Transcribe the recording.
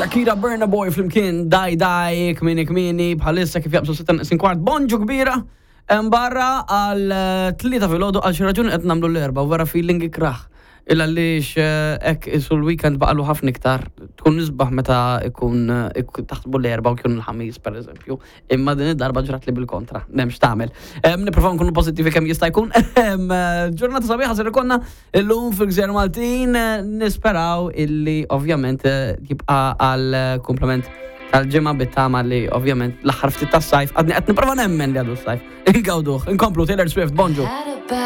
Shakira Burna Boy flimkien Dai Dai kmini kmini bħalissa kif jaqbżu sitta neqsin kwart bonġu kbira hemm barra għal eh, tlieta filgħodu għal xi raġuni qed nagħmlu l-erba' u vera feeling ikrah. Il għaliex eh, hekk isu l-weekend baqalu ħafna iktar tkun nisbaħ meta ikun eh, taħsbu l-erba' u kien il-ħamis pereżempju. Imma din id-darba ġrat li bil-kontra, m'hemmx tagħmel. Nipprovaw nkunu pożittivi kemm jista' jkun. Ġurnata sabiħa ser ikonna illum fil-Gżejjer Maltin nisperaw illi ovvjament eh, jibqa' għal komplement tal-ġimgħa bit-tama li ovvjament l-aħħar ftit tas-sajf għadni qed nipprova nemmen li għadu s-sajf. Ingawduh, inkomplu Taylor Swift, bonġu.